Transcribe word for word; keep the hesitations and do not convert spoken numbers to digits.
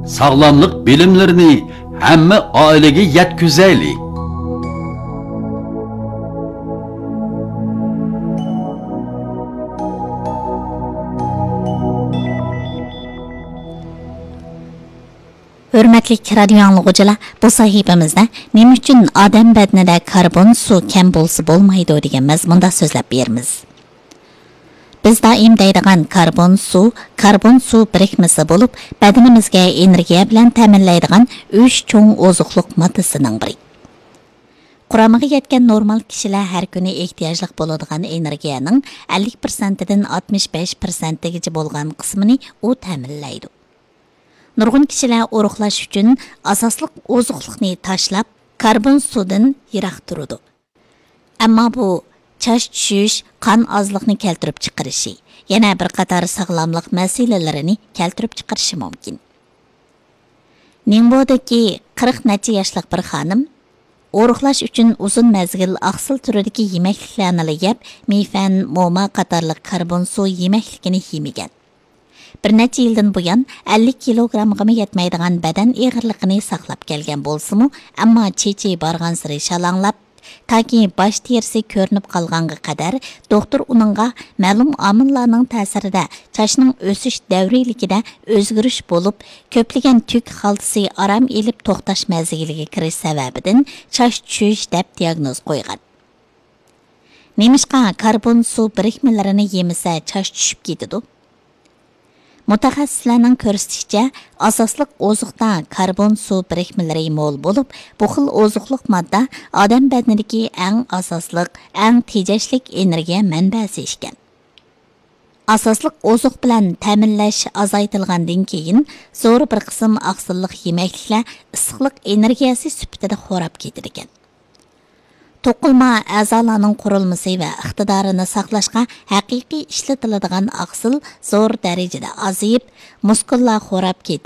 ساغلاملىق بىلىملىرىنى ھەممە ئائىلىگە يەتكۈزەيلى. ھۆرمەتلىك رادىيو ئاڭلىغۇچىلار، بۇ سەھىپىمىزدە نېمە ئۈچۈن ئادەم بەدىنىدە كاربون سۇ كەم بولسا بولمايدۇ دېگەن مەزمۇندا سۆزلەپ بېرىمىز. بىز دائىم دەيدىغان كاربون سۇ، كاربون سۇ بىرىكمىسى بولۇپ، بەدىنىمىزگە ئېنېرگىيە بىلەن تەمىنلەيدىغان ئۈچ چوڭ ئوزۇقلۇق ماددىسىنىڭ بىرى. قۇرامىغا يەتكەن نورمال كىشىلەر ھەر كۈنى ئېھتىياجلىق بولىدىغان ئېنېرگىيەنىڭ ئەللىك پىرسەنتىدىن ئاتمىش بەش پىرسەنتىگىچە بولغان قىسمىنى ئۇ تەمىنلەيدۇ. نۇرغۇن كىشىلەر ئورۇقلاش ئۈچۈن ئاساسلىق ئوزۇقلۇقنى تاشلاپ، كاربون سۇدىن يىراق تۇرىدۇ. ئەمما بۇ چاچ چۈشۈش، قان ئازلىقنى كەلتۈرۈپ چىقىرىشى، يەنە بىر قاتار ساغلاملىق مەسىلىلىرىنى كەلتۈرۈپ چىقىرىشى مۇمكىن. نىڭبودىكى قىرىق نەچچە ياشلىق بىر خانىم ئورۇقلاش ئۈچۈن ئۇزۇن مەزگىل ئاقسىل تۈرىدىكى يېمەكلىكلەرنىلا يەپ، مىفەن، موما قاتارلىق كاربون سۇ يېمەكلىكىنى يېمىگەن. بىر نەچچە يىلدىن بۇيان ئەللىك كىلوگرامغىمۇ يەتمەيدىغان بەدەن ئېغىرلىقىنى ساقلاپ كەلگەن بولسىمۇ، ئەمما چېچى بارغانسېرى شالاڭلاپ، تاكى باش تېرىسى كۆرۈنۈپ قالغانغا قەدەر دوختۇر ئۇنىڭغا مەلۇم ئامىللارنىڭ تەسىرىدە چاچنىڭ ئۆسۈش دەۋرىيلىكىدە ئۆزگىرىش بولۇپ، كۆپلىگەن تۈك خالتىسى ئارام ئېلىپ توختاش مەزگىلىگە كىرىش سەۋەبىدىن چاچ چۈشۈش دەپ دىياگنوز قويغان. نېمىشقا كاربون سۇ بىرىكمىلىرىنى يېمىسە چاچ چۈشۈپ كېتىدۇ؟ مۇتەخەسسىسلەرنىڭ كۆرسىتىشىچە، ئاساسلىق ئوزۇقتا كاربون سۇ بىرىكمىلىرى مول بولۇپ، بۇ خىل ئوزۇقلۇق ماددا ئادەم بەدىنىدىكى ئەڭ ئاساسلىق، ئەڭ تېجەشلىك ئېنېرگىيە مەنبەسى ئىكەن. ئاساسلىق ئوزۇق بىلەن تەمىنلەش ئازايتىلغاندىن كېيىن، زور بىر قىسىم ئاقسىللىق يېمەكلىكلەر ئىسسىقلىق ئېنېرگىيەسى سۈپىتىدە خوراپ كېتىدىكەن. توقۇلما ئەزالارنىڭ قۇرۇلمىسى ۋە ئىقتىدارىنى ساقلاشقا ھەقىقىي ئىشلىتىلىدىغان ئاقسىل زور دەرىجىدە ئازىيىپ، مۇسكۇللار خوراپ كېتىپ،